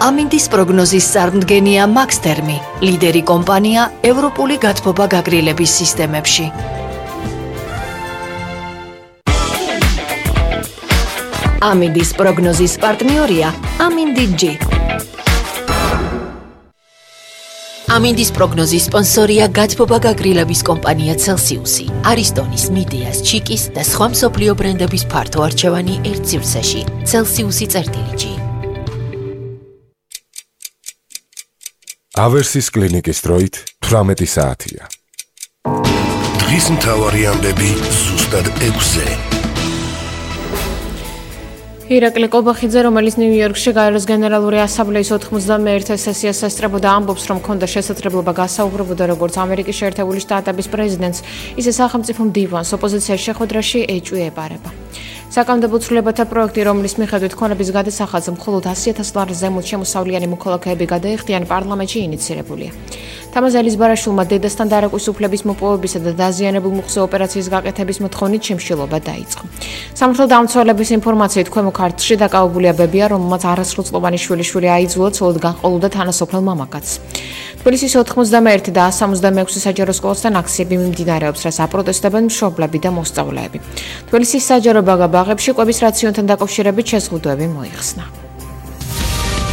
ამინდის პროგნოზის წარმდგენია მაქსთერმი, ლიდერი კომპანია ევროპული გათბობა გაგრილების სისტემებში. ამინდის პროგნოზის პარტნიორია ამინდი-G. ამინდის პროგნოზის სპონსორია გათბობა გაგრილების კომპანია Celsius-ი, არისტონის, მიდეას, ჩიკის და სხვა მსოფლიო ბრენდების ფართო არჩევანი ერთ სივრცეში. Celsius-G. ავერსის კლინიკის დროით 18 საათია. დღის მთავარი ამბები ზუსტად 6-ზე. ირაკლი კობახიძე, რომელიც ნიუ-იორკში გაეროს გენერალური ასამბლეის 91 სესიას ესწრებოდა, ამბობს, რომ ჰქონდა შესაძლებლობა გასაუბრებოდა როგორც ამერიკის შეერთებული შტატების პრეზიდენტს, ისე სახელმწიფო მდივანს ოპოზიციის შეხვედრაში ეჭვი ეპარება. საკანონმდებლო ცვლილებათა პროექტი, რომლის მიხედვით ქონების გადასახადს მხოლოდ 100,000 ლარს ზემოთ შემოსავლიანი მოქალაქეები გადაეხდიან, პარლამენტში ინიცირებულია. თამაზ ელიზბარაშვილმა დედასთან დარეკვის უფლების მოპოვებისა და დაზიანებულ მუხზე ოპერაციის გაკეთების მოთხოვნით შიმშილობა დაიწყო. სამართალ დამცველების ინფორმაციით, ქვემო ქართლში დაკავებულია ბებია, რომელმაც არასრულწლოვანი შვილიშვილი აიძულა, ცოლად განყოლოდა თანასოფლელ მამაკაცს. თბილისის 91 და 176 საჯარო სკოლასთან აქციები მიმდინარეობს, რაც აპროტესტებენ მშობლები და მოსწავლეები. თბილისის საჯარო ბაღებში კვების რაციონთან დაკავშირებით შეზღუდვები მოიხსნა.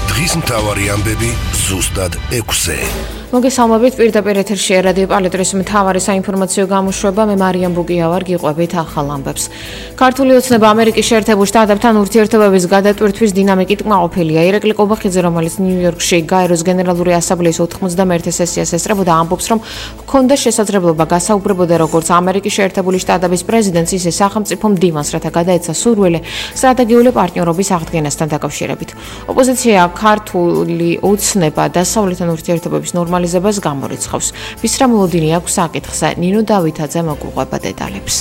დღის მთავარი ამბები ზუსტად 6-ზე. მოგესალმებით, პირდაპირ ეთერში რადიო პალეტრის მთავარი საინფორმაციო გამოშვება, მე მარიამ ბუკია ვარ, გიყვებით ახალ ამბებს. ქართული ოცნება ამერიკის შეერთებულ შტატებთან ურთიერთობების გადატვირთვის დინამიკით კმაყოფილია. ირაკლი კობახიძე, რომელიც ნიუ-იორკში გაეროს გენერალური ასამბლეის 91 სესიას ესწრებოდა, ამბობს, რომ ჰქონდა შესაძლებლობა გასაუბრებოდა როგორც ამერიკის შეერთებული შტატების პრეზიდენტს, ისე სახელმწიფო მდივანს, რათა გადაეცა სურვილი სტრატეგიული პარტნიორობის აღდგენასთან დაკავშირებით. ოპოზიცია ქართული ოცნება დასავლეთთან ურთიერთობების ნორმალიზებას გამორიცხავს. ვისრა მოლოდინი აქვს საკითხზე, ნინო დავითაძე მოგვიყვება დეტალებს.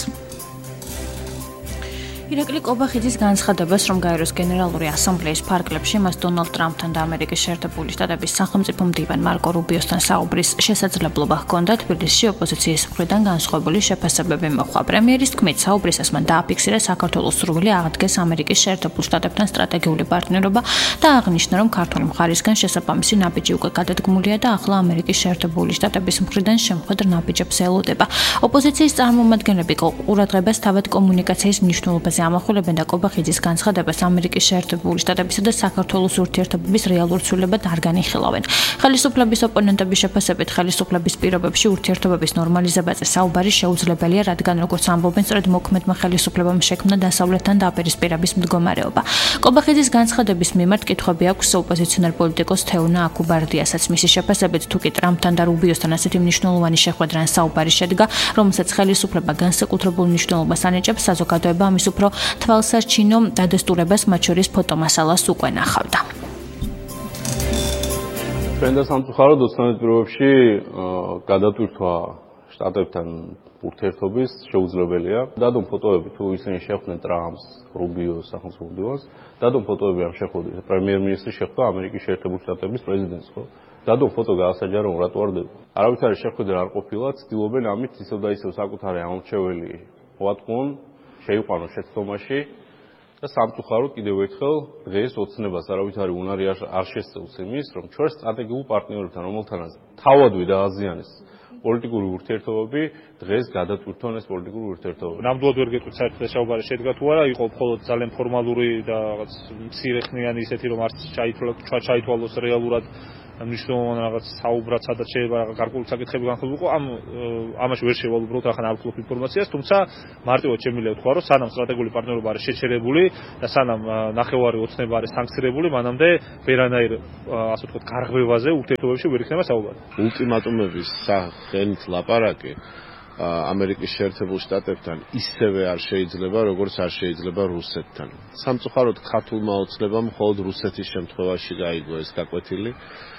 ირაკლი კობახიძის განცხადებას, რომ გაეროს გენერალური ასამბლეის ფარგლებში მას დონალდ ტრამპთან და ამერიკის შეერთებული შტატების სახელმწიფო მდივან მარკო რუბიოსთან საუბრის შესაძლებლობა ჰქონდა, თბილისში ოპოზიციის მხრიდან განსხვავებული შეფასებები მოხდა. პრემიერის თქმით, საუბრისას მან დააფიქსირა საქართველოს სურვილი აღდგეს ამერიკის შეერთებულ შტატებთან სტრატეგიული პარტნიორობა და აღნიშნა, რომ ქართული მხარისგან შესაბამისი ნაბიჯი უკვე გადადგმულია და ახლა ამერიკის შეერთებული შტატების მხრიდან შემხედრ ნაბიჯებს ელოდება. ოპოზიციის წარმომადგენლები ყურადღებას თავად კომუნიკაციის მნიშვნელობაზე ამახვილებენ და კობახიძის განცხადებას ამერიკის შეერთებული შტატებისა და საქართველოს ურთიერთობების რეალურ ცვლილებად არ განიხილავენ. ხელისუფლების ოპონენტების შეფასებით, ხელისუფლების პირობებში ურთიერთობების ნორმალიზებაზე საუბარი შეუძლებელია, რადგან როგორც ამბობენ, სწორედ მოქმედმა ხელისუფლებამ შექმნა დასავლეთთან დაპირისპირების მდგომარეობა. კობახიძის განცხადების მიმართ კითხვები აქვს ოპოზიციონერ პოლიტიკოს თეონა აკუბარდიასაც. მისი შეფასებით, თუ კი ტრამპთან და რუბიოსთან ასეთი მნიშვნელოვანი შეხვედრა ან საუბარი შედგა, რომელსაც ხელისუფლება განსაკუთრებულ მნიშვნელობას ანიჭებს, საზოგადოება ამის უფრო თვალსაჩინო დადასტურებას, მათ შორის ფოტომასალას უკვე ნახავდა. ჩვენ და სამწუხაროდ 12 პირობებში გადატვირთვა შტატებთან ურთიერთობის შეუძლებელია. დადო ფოტოები, თუ ისინი შეხვდნენ ტრამპს, რუბიოს, სახელმწიფო მდივანს, დადო ფოტოები ამ შეხვედრით. პრემიერ-მინისტრი შეხვდა ამერიკის შეერთებული შტატების პრეზიდენტს, ხო? დადო ფოტო გაასაჯა, რომ რატო არ დედო. არავითარი შეხვედრა არ ყოფილა, ცდილობენ ამით ისევ და ისევ საკუთარი ამორჩეველი მოატყუონ, შეიყვანოს შეცდომაში და სამწუხაროდ კიდევ ერთხელ დღეს ოცნებას არავითარი უნარი არ შესწევს იმის, რომ ჩვენ სტრატეგიულ პარტნიორებთან, რომელთანაც თავადვე დააზიანეს პოლიტიკური ურთიერთობები, დღეს გადატვირთვან ეს პოლიტიკური ურთიერთობები. ნამდვილად ვერ გეტყვით საერთოდ ეს საუბარი შედგა თუ არა, იყო მხოლოდ ძალიან ფორმალური და რაღაც მცირეხნიანი ისეთი, რომ არც ჩაითვალოს რეალურად მნიშვნელოვანი რაღაც საუბრად, სადაც შეიძლება გარკვეული საკითხები განხილულიყო, ამაში ვერ შევალ უბრალოდ ახლა არ ვფლობ ინფორმაციას, თუმცა მარტივად შემიძლია ვთქვა, რომ სანამ სტრატეგიული პარტნიორობა არის შეჩერებული და სანამ ნახევარი ოცნება არის სანქცირებული, მანამდე ვერანაირ ასე ვთქვათ გარღვევაზე ურთიერთობებში ვერ იქნება საუბარი. ულტიმატუმების სახელით ლაპარაკი ამერიკის შეერთებულ შტატებთან ისევე არ შეიძლება, როგორც არ შეიძლება რუსეთთან. სამწუხაროდ ქართულმა ოცნებამ მხოლოდ რუსეთის შემთხვევაში გაიგო ეს გაკვეთილი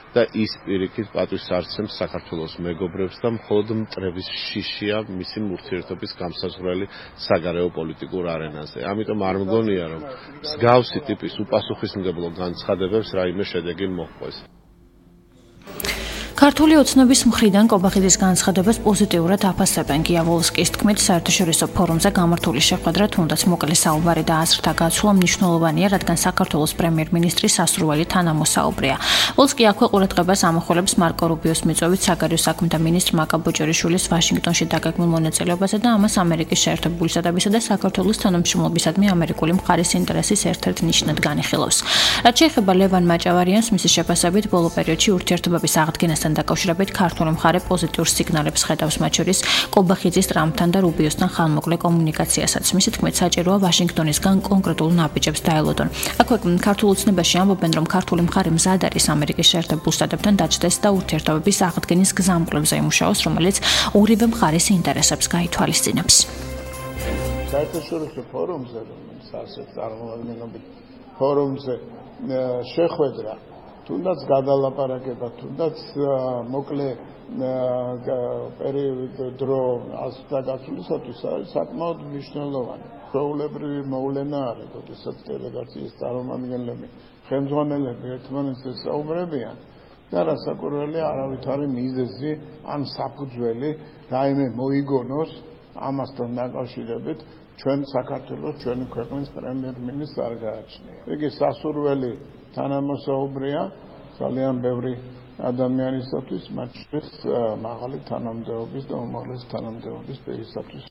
და ის პირიქით პატვის არცემს საქართველოს მეგობრებს და მხოლოდ მტრების შიშია მისი ურთიერთობის გამსაზღვრელი საგარეო პოლიტიკურ არენაზე. ამიტომ არ მგონია, რომ მსგავსი ტიპის უპასუხისმგებლო განცხადებებს რაიმე შედეგი მოჰყვეს. ქართული ოცნების მხრიდან კობახიძის განცხადებას პოზიტიურად აფასებენ. გია ვოლსკის თქმით, საერთაშორისო ფორუმზე გამართული შეხვედრა თუნდაც მოკლე საუბარი და აზრთა გაცვლა მნიშვნელოვანია, რადგან საქართველოს პრემიერ-მინისტრი სასურველი თანამოსაუბრია. ვოლსკი აქვე ყურადღებას ამახვილებს მარკო რუბიოს მიწვევით საგარეო საქმეთა მინისტრ მაკა ბოჭორიშვილის ვაშინგტონში დაგეგმილ მონაწილეობაზე და ამას ამერიკის შეერთებული შტატებისა და საქართველოს თანამშრომლობისადმი ამერიკული მხარის ინტერესის ერთ-ერთ ნიშნად განიხილავს. რაც შეეხება ლევან მაჭავარიანს, მისი შეფასებით ბოლო პერიოდში ურთიერთობების აღდგენასთან დაკავშირებით ქართული მხარე პოზიტიურ სიგნალებს ხედავს, მათ შორის კობახიძის ტრამპთან და რუბიოსთან ხანმოკლე კომუნიკაციასაც. მისი თქმით, საჭიროა ვაშინგტონისგან კონკრეტულ ნაბიჯებს დაელოდონ. აქვე ქართულ ოცნებაში ამბობენ, რომ ქართული მხარე მზად არის ამერიკის შეერთებულ შტატებთან დაჯდეს და ურთიერთობების აღდგენის გზამკვლევზე იმუშაოს, რომელიც ორივე მხარის ინტერესებს გაითვალისწინებს. საერთაშორისო ფორუმზე, რომელიც ასეთ წარმომადგენლობით ფორუმზე შეხვედრა, თუნდაც გადალაპარაკება, თუნდაც მოკლე პერიოდი დრო აზრთა გაცვლისათვის არის საკმაოდ მნიშვნელოვანი. ჩვეულებრივი მოვლენა არის, როდესაც დელეგაციის წარმომადგენლები, ხელმძღვანელები ერთმანეთს საუბრებიან და რასაკვირველია არავითარი მიზეზი ან საფუძველი რაიმე მოიგონოს ამასთან დაკავშირებით ჩვენ საქართველოს ჩვენი ქვეყნის პრემიერ-მინისტრს არ გააჩნია. იგი სასურველი თანამოსაუბრია ძალიან ბევრი ადამიანისათვის, მათ შორის მაღალი თანამდებობის და უმაღლესი თანამდებობის პირისათვის.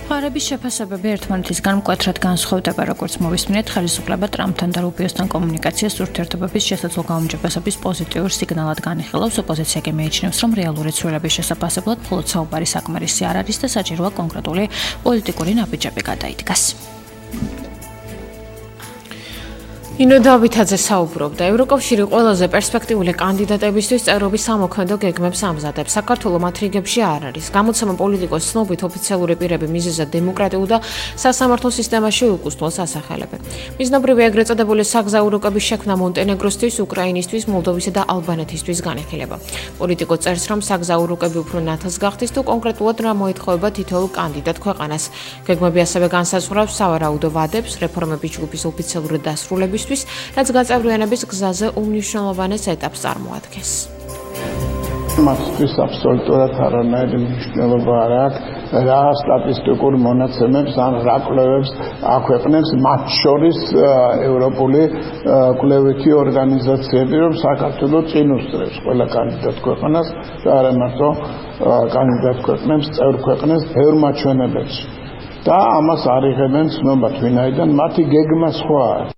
მხარეების შეფასებები ერთმანეთისგან მკვეთრად განსხვავდება, როგორც მოვისმინეთ, ხელისუფლება ტრამპთან და რუბიოსთან კომუნიკაციას ურთიერთობების შესაძლო გაუმჯობესების პოზიტიურ სიგნალად განიხილავს. ოპოზიცია კი მიიჩნევს, რომ რეალური ცვლილების შესაძლებლად მხოლოდ საუბარი საკმარისი არ არის და საჭიროა კონკრეტული პოლიტიკური ნაბიჯები გადაიდგას. ინო დავითაძე საუბრობდა, ევროკავშირი ყველაზე პერსპექტიული კანდიდატებისთვის წევრობის სამოქმედო გეგმებს ამზადებს. საქართველოს მათ რიგებში არ არის. გამოცემა პოლიტიკოს ცნობით ოფიციალური პირები მიზეზად დემოკრატიულ და სასამართლო სისტემაში უკუსტლოს ასახელებენ. მიზნობრივი ეგრეთ წოდებული საგზაურო კების შექმნა მონტენეგროსთვის, უკრაინისთვის, მოლდოვისა და ალბანეთისთვის განიხილება. პოლიტიკო წერს, რომ საგზაურო კები უფრო ნათელს გახდის თუ კონკრეტულად რა მოითხოვება თითოეულ კანდიდატ ქვეყანას. გეგმები ასევე განსაზღვრავს სავარაუდო ვადებს, რეფორმების ჯგუფის ოფიციალური დასრულების რაც გაწევრიანების გზაზე უმნიშვნელოვანეს ეტაპს წარმოადგენს. მათთვის აბსოლუტურად არანაირი მნიშვნელობა არ აქვს, რა სტატისტიკურ მონაცემებს ან რა კვლევებს აქვეყნებს, მათ შორის ევროპული კვლევითი ორგანიზაციები, რომ საქართველოს წინ უსწრებს ყველა კანდიდატ ქვეყანას და არა მარტო კანდიდატ ქვეყნებს, წევრ ქვეყნებს ბევრ მაჩვენებელში. და ამას არიღებენ ცნობად, ვინაიდან მათი გეგმა სხვაა.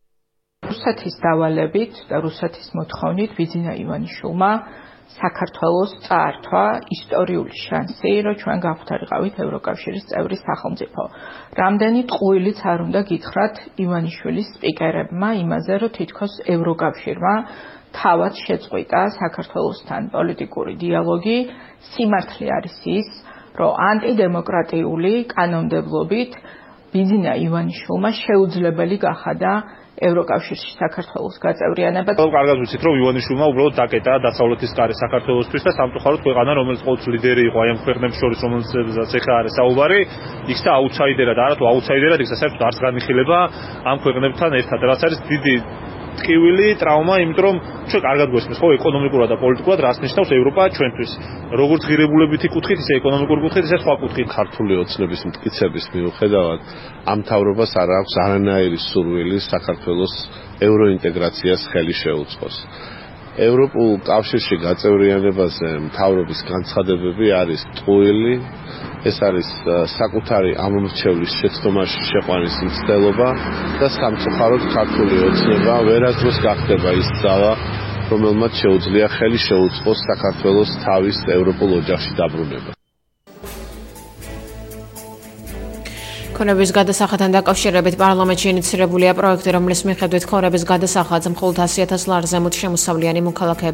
რუსეთის დავალებით და რუსეთის მოთხოვნით ბიძინა ივანიშვილმა საქართველოს წაართვა ისტორიული შანსი, რომ ჩვენ გავხდარიყავით ევროკავშირის წევრი სახელმწიფო. რამდენი ტყუილიც არ უნდა გითხრათ ივანიშვილის სპიკერებმა იმაზე, რომ თითქოს ევროკავშირმა თავად შეწყვიტა საქართველოსთან პოლიტიკური დიალოგი. სიმართლე არის ის, რომ ანტიდემოკრატიული კანონმდებლობით ბიძინა ივანიშვილმა შეუძლებელი გახადა ევროკავშირში საქართველოს გაწევრიანება. კარგად ვიცით, რომ ივანიშვილმა უბრალოდ დაკეტა დასავლეთის კარი საქართველოსთვის და სამწუხაროდ ქვეყანა, რომელიც ყოველთვის ლიდერი იყო აი ამ ქვეყნებს შორის, რომელსაც ეხლა არის საუბარი, იქცა აუთსაიდერად, არათუ აუთსაიდერად, იქცა საერთოდ არც განიხილება ამ ქვეყნებთან ერთად. რაც არის დიდი ტკივილი, ტრავმა, იმიტომ რომ ჩვენ კარგად გვესმის, ხო, ეკონომიკურად და პოლიტიკურად რას ნიშნავს ევროპა ჩვენთვის. როგორც ღირებულებითი კუთხით, ისე ეკონომიკური კუთხით, ისე სხვა კუთხით. ქართული ოცნების მტკიცების მიუხედავად, ამ მთავრობას არ აქვს არანაირი სურვილი საქართველოს ევროინტეგრაციას ხელი შეუწყოს. ევროპულ კავშირში გაწევრიანებაზე მთავრობის განცხადებები არის ტყუილი. ეს არის საკუთარი ამომრჩევლის შეცდომაში შეყვანის მცდელობა და სამწუხაროდ ქართული ოცნება ვერასდროს გახდება ის ძალა, რომელმაც შეუძლია ხელი შეუწყოს საქართველოს თავის ევროპულ ოჯახში დაბრუნება. ქონების გადასახადთან დაკავშირებით პარლამენტში ინიცირებულია პროექტი, რომლის მიხედვით ქონების გადასახადს მხოლოდ 100,000 ლარზე შემოსავლიანი მოქალაქეები